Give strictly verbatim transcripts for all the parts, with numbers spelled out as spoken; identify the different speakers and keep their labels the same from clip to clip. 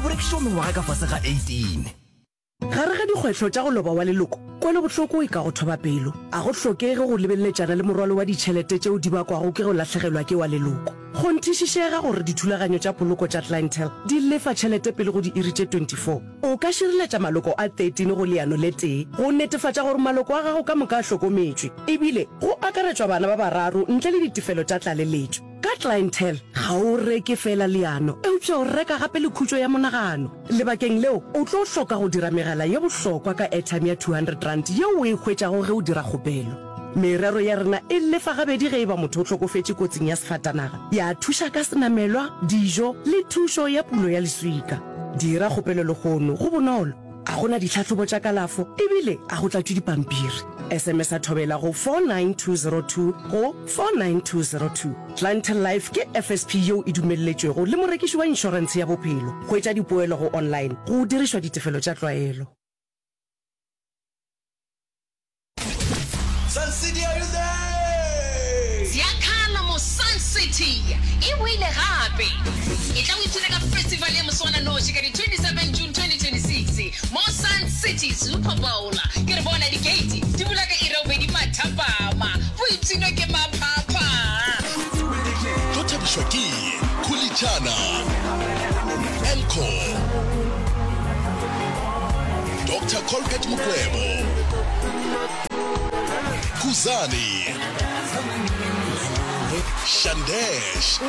Speaker 1: Ga bo rekišetšwa mengwaga ka fase ga eighteen.
Speaker 2: Gare ga dikgwetlho tša go loba wa leloko, kwelobohloko e ka go thoba pelo. A go hlokege go lebeleletšana le morwalo wa ditšhelete tšeo di bakwago ke go lahlegelwa ke wa leloko. Kgonthišišega gore dithulaganyo tša poloko tša Clientele di lefa tšhelete pele go diiri tše twenty four. O ka šireletša maloko a thirteen go leano le tee go netefatša gore maloko a gago ka moka a hlokometšwe, ebile go akaretšwa bana ba bararo ntle le ditefelo tša tlaleletšo. Ka Clientele, ga o reke feela leano, eupša o reka gape le khutšo ya monagano. Lebakeng leo, o tlo hloka go dira megala ye bohlokwa ka airtime ya two hundred rand yeo o e hwetšago ge o dira kgopelo. Merero ya rena e lefa gabedi ge e ba motho o hlokofetše kotsing ya sefatanaga, ya thuša ka senamelwa, dijo le thušo ya pulo ya leswika. Dira kgopelo lehono, go bonolo, ga go na ditlhahlobo tša kalafo ebile ga go tlatšwe dipampiri. S M S a Thobela go four nine two zero two go four nine two zero two. Clientele Life ke F S P yeo e dumelletšwego le morekiši wa inšorentshe ya bophelo. Hwetša dipoelo go online go dirišwa ditefelo tša tlwaelo.
Speaker 1: Sun City, are you there?
Speaker 3: Ziakhala mo Sun City e boile gape. E tla o ipshina ka festival ya moswananoši ka di twenty seven June twenty twenty six mo Sun City Super Bowl. Ke re bona di-gate di bula ka iri ya bobedi mathapama. Boipshino ke maphapha.
Speaker 4: Tlo thabišwa ke Khulitšana, Encore, Doctor Colbert Mukwevho, Khuzani, Shandesh,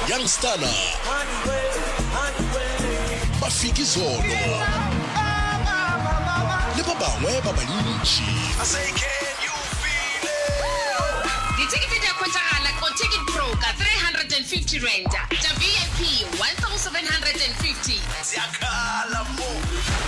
Speaker 4: Young Stunna, Mafikizolo le ba bangwe ba bantši.
Speaker 3: Dithekete di a hwetšagala ko Ticket Pro ka three hundred and fifty rand, tša V I P one thousand hundred and fifty.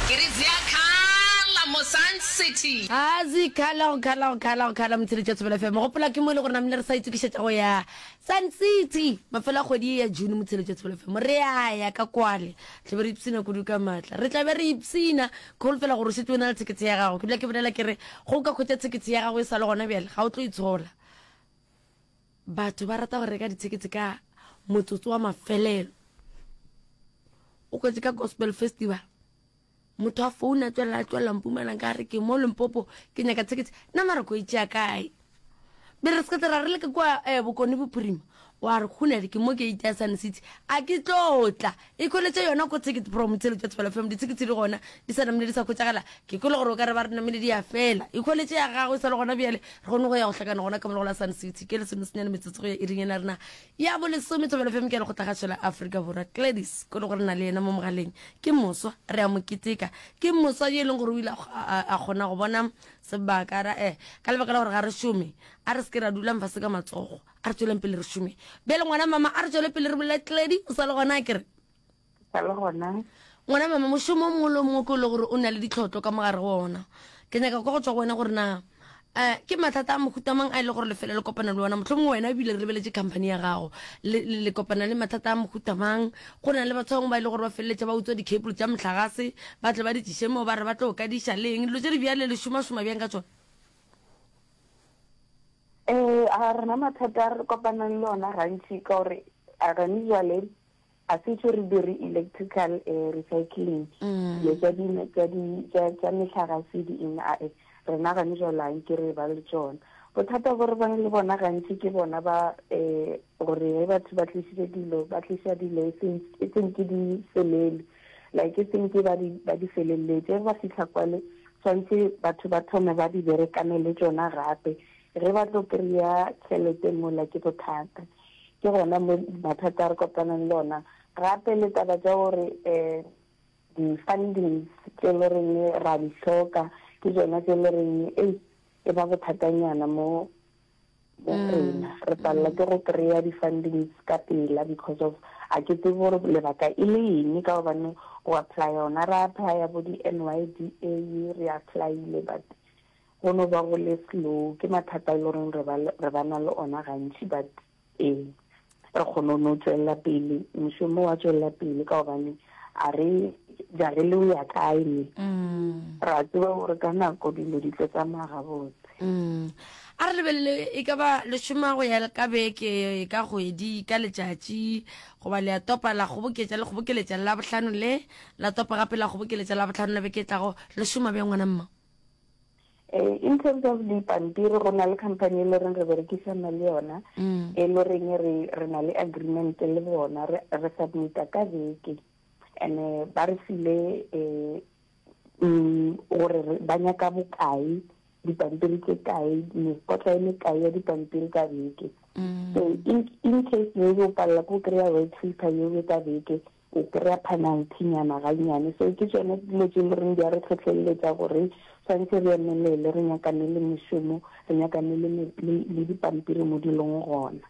Speaker 3: Ke re ziakhala mo Sun City.
Speaker 5: A zikhala go khala go khala go khala motsheletši wa Thobela F M. Gopola ke mo e le gore namile re sa itokišetša go ya Sun City mafelo a kgwedi ye ya June motsheletši wa Thobela F M. Re a ya ka kwale, tla be re ipshina kudu ka maatla. Re tla be re ipshina, ke holofela gore o šetše o na le thekete ya gago. Ke dula ke bolela ke re go ka hwetša thekete ya gago e sa le gona bjale, ga o tlo itshola. Batho ba rata go reka dithekete ka motsotso wa mafelelo. O kwetse ka Gospel Festival, motho a founa a tswelela a tswelela Mpumalanga ka re ke mo Limpopo ke nyaka thekete, nna mara ko e tšea kae? Be re se ka ra re le ka kua, eh, Bokone Bophirima, wa re khunele ke mo ke itea Sun City, a ke tlo tla. E khweletše yona ko Ticket Pro motsheletši wa Thobela F M, dithekete di gona di sa namile di sa hwetšagala. Ke kwele gore o ka re ba re namile di a fela. E khweletše ya gago e sa le gona bjale, re kgone go ya go hlakana gona ka mo go la Sun City. Ke lesomesenyane metsotso go ya iring ena rena ya bolesome. Thobela F M ke ya lekgotlakgašo la Afrika Borwa. Gladys ko le gore na le yena mo mogaleng ke moswa, re a mo keteka. Ke moswa yo e leng gore o ile a kgo-, a, a, a kgona go bona sebaka ra, eh, ka lebaka la gore ga re šome, a re se ke ra dula mfase ka matsogo, a re tsweleng pele re šome. Bjale ngwana mama, a re tswele pele re bolele. Gladys o sa le gona, a ke re?
Speaker 6: Sa le gona.
Speaker 5: Ngwana mama, mošomo o mongwe le o mongwe ke o le gore o na le ditlhotlo ka mogare go ona. Ke nyaka kwa go tswa go wena gore na, eh, ke mathata a mohuta mang a e le gore lefelo le kopana le ona? Mohlomongwe wena ebile re lebeletše company ya gago, le, le, le kopana le mathata a mohuta mang? Go na le batho ba bangwe ba e le gore ba feleletša ba utswa di-cable tša mohlagase, ba tle ba di tliše mo, ba re ba tlo kadiša le eng. Dilo tše di bjale le šomašoma bjang ka tšona?
Speaker 6: Eh, a rena mathata a re kopanang le ona gantši ka gore a gane jwale a se tšo re dire electrical, eh, recycling.
Speaker 5: Mm.
Speaker 6: Dilo tša di, tša di, tša, tša mehlagase di eng, a, eh, rena gane jwale a nke re ba le tšona. Bothata bo re bang le bona gantši ke bona ba, eh, gore ge batho ba tlišitše dilo, ba tliša dilo e seng, e seng ke di felele. Like e seng ke ba di, ba di feleletse. Ge ba fihla kwale, tshwantse batho ba thome ba di berekane le tšona gape. Ge ba tlo kry-a tšhelete mola ke bothata. Ke gona mo mathata a re kopanang le ona. Gape le taba tša gore, eh, di-fundings tše le reng ra di hloka, ke tšona tše le reng, ei, e ba bothatanyana mo, mo
Speaker 5: Mm.
Speaker 6: rena. Re palela ke go kry-a di-fundings ka pela because of a ke tsebe gore lebaka e le eng, ka gobane go apply yona, re apply-a bo di-N Y D A, re apply-ile, but go no ba go le slow. Ke mathata a e le goreng re ba le, re ba na le ona gantši, but ee, re kgone ho no tswella pele, mošomo wa tswella pele ka gobane a re jare le ho ya kae ne.
Speaker 5: Mm.
Speaker 6: Ra tseba gore ka nako dilo di tlo tsamaya gabotse.
Speaker 5: Mm. A re lebelele, e ka ba le šoma go ya ka beke, ka kgwedi, ka letšatši, goba le a topa la kgoboketša, le kgobokeletša la bohlano le, la topa gape la kgobokeletša la bohlano la beke e tlago. Le šoma bjang, ngwana mma?
Speaker 6: Eh, in terms of dipampiri, go na le company e le reng re berekisana le yona, e le reng re re na le agreement le bona, re re submita ka beke, and eh, ba re file eh mm, gore re- ba nyaka bokae, dipampiri tse kae, mekotla e mekae ya dipampiri ka beke. So in, in case maybe o palela ko kry-a white paper yeo ka beke, o kry-a penalty nyana gannyane. So ke tsone dilo tse e le reng di a re tlhotlheletša gore tshwanetse re emelele, re nyakane le mešomo, re nyakane le, me- le, le dipampiri mo di leng gona.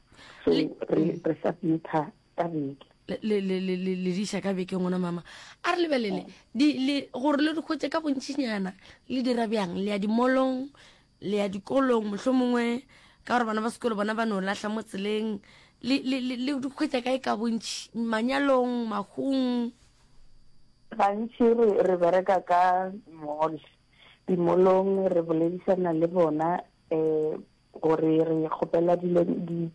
Speaker 6: So re, re submita ka beke.
Speaker 5: Le le le le le le diša ka beke, ngwana mama. A re lebelele di le gore le di hwetše ka bontšinyana, le dira bjang? Le ya dimolong, le ya dikolong, mohlomongwe ka gore bana ba sekolo bona ba no lahla mo tseleng. Le le le le di hwetša kae ka bontši? Manyalong, mahung?
Speaker 6: Gantši re re bereka ka mall, dimolong re boledišana le bona um gore re kgopela dilo di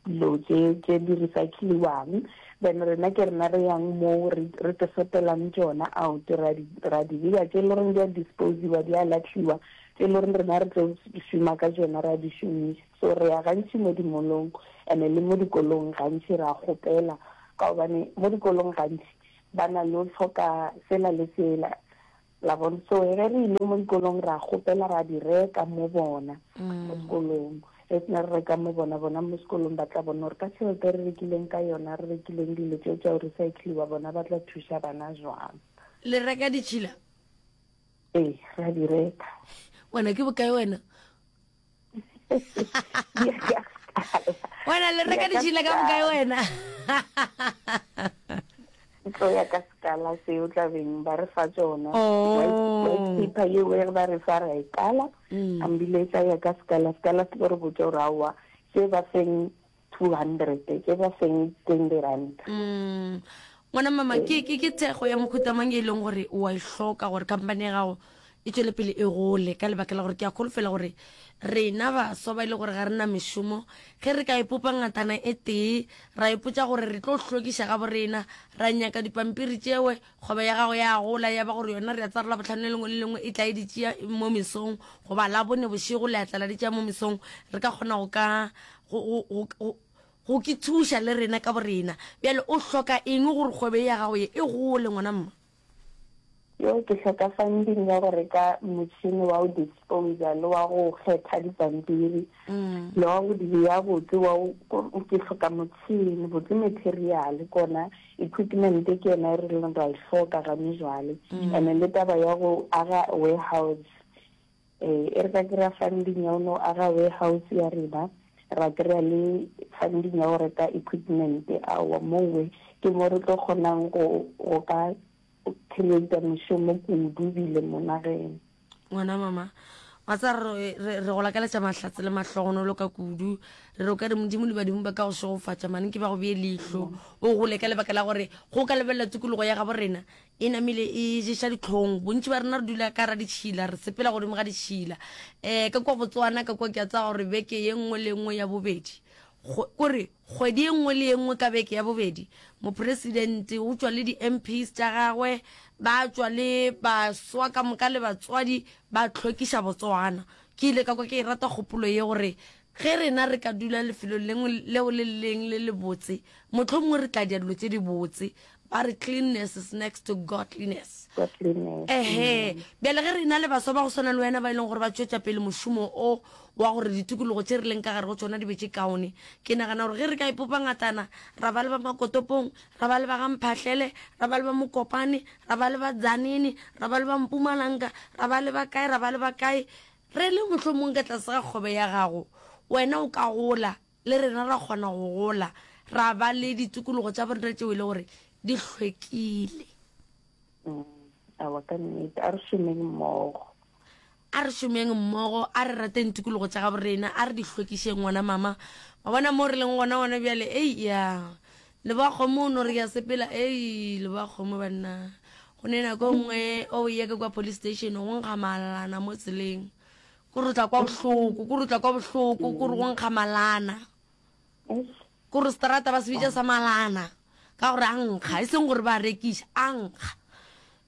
Speaker 6: dilo tše tše di recycliwang, then rena ke rena re yang moo, re re te sotelang tšona out, ra di ra di beya tše e le goreng di a disposiwa, di a latlhiwa, tše e le goreng rena re tlo šoma ka tšona, ra di šomiša. So re ya gantši mo dimolong, and le mo dikolong gantši ra kgopela, ka gobane mo dikolong gantši ba na le go hloka sela le sela la bona. So ge re ile mo dikolong, ra kgopela, ra di reka mo bona mo sekolong. Ge sena re reka mo bona, bona mo sekolong ba tla bona gore ka tšhelete re rekileng ka yona, re rekileng dilo tseo tša go recycliwa, bona ba tla thuša bana jwang.
Speaker 5: Le reka ditšhila?
Speaker 6: Ee, ra di reka.
Speaker 5: Wena ke bokae wena?
Speaker 6: Di ya ka sekala.
Speaker 5: Wena le reka
Speaker 6: Di ya ka
Speaker 5: ditšhila ka bokae
Speaker 6: sekala.
Speaker 5: wena?
Speaker 6: Tlo ya ka sekala seo tlabeng ba re fa tsona.
Speaker 5: Oh.
Speaker 6: white white paper yeo e ba re fa, ra e kala, ambile e tla ya ka sekala. Sekala se tlo re botsa gore aowa, tše ba feng two hundred, tše ba feng twenty rand.
Speaker 5: Mm. Ngwana mama, ke ke ke thekgo ya mohuta mang e leng gore o a e hloka gore company ya gago e tšwele pele e gole? Ka lebaka la gore ke a kholofela gore rena baswa ba e le gore ga re na mešomo, ge re ka ipopa ngatana e tee, ra ipotša gore re tlo hlwekiša ga borena, ra nyaka dipampiri tšewe, kgwebo ya gago ya gola, ya ba gore yona re a tsara la bohlano le lengwe le lengwe e tla e di tšea mo mesong, goba la bone bošego le a tla la di tšea mo mesong, re ka kgona go ka go go go go go ke thuša le rena ka borena. Bjale o hloka eng gore kgwebo ya gago ye e gole, ngwana mma?
Speaker 6: Yo, ke hloka funding ya go reka motšhini wa go disposa le wa go kgetha dipampiri le wa go di beya botse wa go- ko- ke hloka motšhini botse, material kona, equipment ke yona e re leng ra e hloka gane jwale. And le taba ya go aga warehouse, eh e re ka kry-a funding ya go no aga warehouse ya rena, ra kry-a le funding ya go reka equipment, aowa, mowe ke mo re tlo kgonang go go ka create mešomo kudu bile mo nageng.
Speaker 5: Ngwana mama, wa tsa re re re go lakaletša mahlatse le mahlogonolo ka kudu. Re re o ka re Modimo le badimo ba ka go šegofatša mane, ke ba go bee leihlo, o gole, ka lebaka la gore go ka lebelela tikologo ya gabo rena e namile e ješa ditlhong. Bontši ba rena re dula ka ra ditšhila, re sepela godimo ga ditšhila. Um ka kua Botswana ka kua, ke a tsaya gore beke ye nngwe le nngwe ya bobedi, kore kgwedi e nngwe le ye nngwe ka beke ya bobedi, mopresidente o tšwa le di-M Ps tša gagwe, ba tšwa le baswa ka moka le batswadi, ba tlhwekiša Botswana. Ke ile ka kwa ke e rata kgopolo ye, gore ge rena re ka dula lefelong lengwe leo le leng le le botse, mohlomongwe re tla dia dilo tše di botse. Ba re cleanness is next to godliness.
Speaker 6: Godliness.
Speaker 5: Ehe, bjale ge re na le baswa ba go swana le wena ba e leng gore ba tšwetša pele mošomo o wa gore ditikologo tše re leng ka gare go tsona di be tše kaone, ke nagana gore ge re ka ipopa ngatana, ra ba le ba Makotopong, ra ba le ba gamphahlele, ra ba le ba Mokopane, ra ba le ba Dzanene, ra ba le ba Mpumalanga, ra ba le ba kae, ra ba le ba kae, re le mohlomong ka tlase ga kgwebo ya gago, wena o ka gola le rena ra kgona go gola, ra ba le ditikologo tša borena tšeo e le gore di hlwekile.
Speaker 6: Mm, aowa, ka nnete, a re šomeng mmogo.
Speaker 5: A re šomeng mmogo, a re rateng tikologo tša gabo rena, a re di hlwekišeng. Ngwana mama, wa bona mo re leng gona gona bjale, ei ya leboa kgomo, o no re ya sepela, ei leboa kgomo banna. Go ne nako nngwe o ye ka kwa police station, go nkga malana mo tseleng. Kore o tla kwa bohloko, kore o tla kwa bohloko, kore go nkga malana. Kore seterata ba se bitša sa malana ka gore a nkga, e seng gore ba a rekiša, a nkga.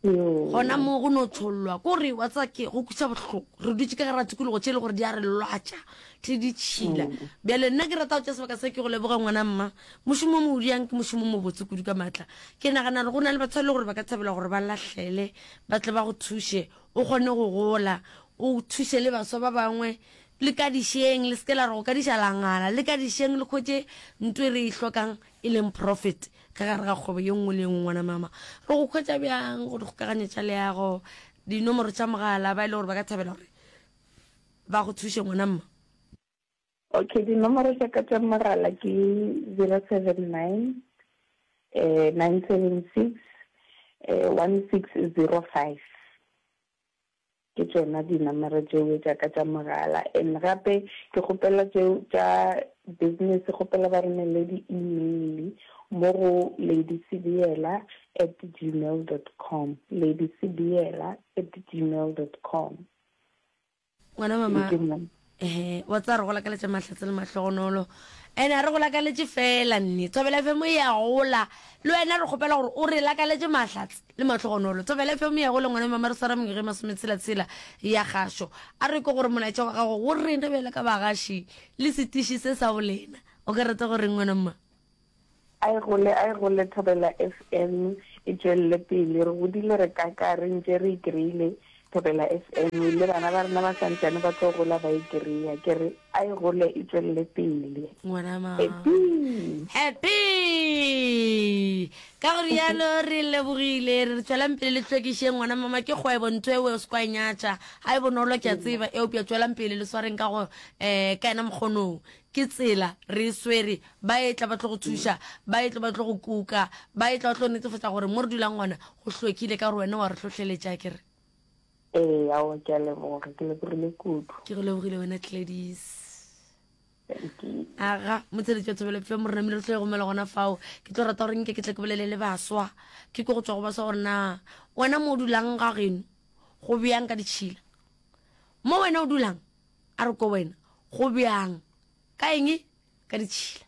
Speaker 5: Gona moo go no tšhollwa, kore wa tseba ke go kweša bohloko. Re dutše ka gare ga tikologo tše e le gore di a re lwatša, di ditšhila. Bjale nna ke rata go tšea sebaka se ke go leboge ngwana mma. Mošomo o mo o diang ke mošomo o mobotse kudu ka maatla. Ke nagana gore go na le batho ba e le gore ba ka thabela gore ba lahlele, ba tle ba go thuše, o kgone go gola, o thuše le baswa ba bangwe. Le kadišeng, le se ke la re go kadiša la ngala, le kadišeng le hwetše nto e re e hlokang e leng profit ka gare ga kgwebo ye nngwe le ye nngwe. Ngwana mama, re go hwetša bjang go dikgokaganyo tša leago, dinomoro tša mogala, ba e le gore ba ka thabela gore ba go thuše ngwana mma?
Speaker 6: Okay, dinomoro tša ka tša mogala ke zero seven nine, eh, nine seven six, eh, one six zero five. Ke tšona dinomoro tšeo tša ka tša mogala. And gape ke kgopela tšeo tša business, kgopela ba romele di-email mo go ladysibiela at gmail dot com, ladysibiela at gmail dot com.
Speaker 5: Ngwana mama, ehe, wa tseba re go lakaletša mahlatse le mahlogonolo. Ene a re go lakaletše fela nne. Thobela F M e a gola. Le wena re kgopela gore o re lakaletše mahlatse le mahlogonolo. Thobela F M e a gola ngwana mama, re swara mengwaga e masometshela-tshela ya kgašo. A re kwe gore molaetša wa gago go rena bjalo ka bagaši le setiši se sa bolena. O ka rata go reng ngwana mma?
Speaker 6: A e gole, a e gole Thobela F M e tšwelele pele. Re godile re kaka re ntše re e kry-ile Thobela F M, le bana ba rena ba santšane ba tlo gola ba e kry-a. Ke re a e gole e tšwelele pele.
Speaker 5: Ngwana ma.
Speaker 6: Happy!
Speaker 5: Happy! Ka go rialo re lebogile, re re tšwelang pele le hlwekišeng ngwana mama, ke kgwebo ntho eo o se kwa e nyatša. Ga e bonolo ke a tseba, eupša tšwelang pele le swareng ka go um ka yena mokgonong. Ke tsela re e swere, ba etla ba tlo go thuša, ba etla ba tlo go kuka, ba etla ba tlo netefatša gore mo re dulang gona go hlwekile, ka gore wena wa re hlohleletša, ke re.
Speaker 6: Ee, aowa, ke a leboga, ke lebogile kudu.
Speaker 5: Ke go lebogile wena Gladys.
Speaker 6: Thank you.
Speaker 5: Aga, motsheletši wa Thobela F M, re namile re tlo e gomela gona fao. Ke tlo rata gore nke ke tle ke bolele le baswa, ke kwe go tšwa go baswa gore na wena mo o dulang ga geno go bjang ka ditšhila, mo wena o dulang a re ko wena go bjang ka eng ka ditšhila.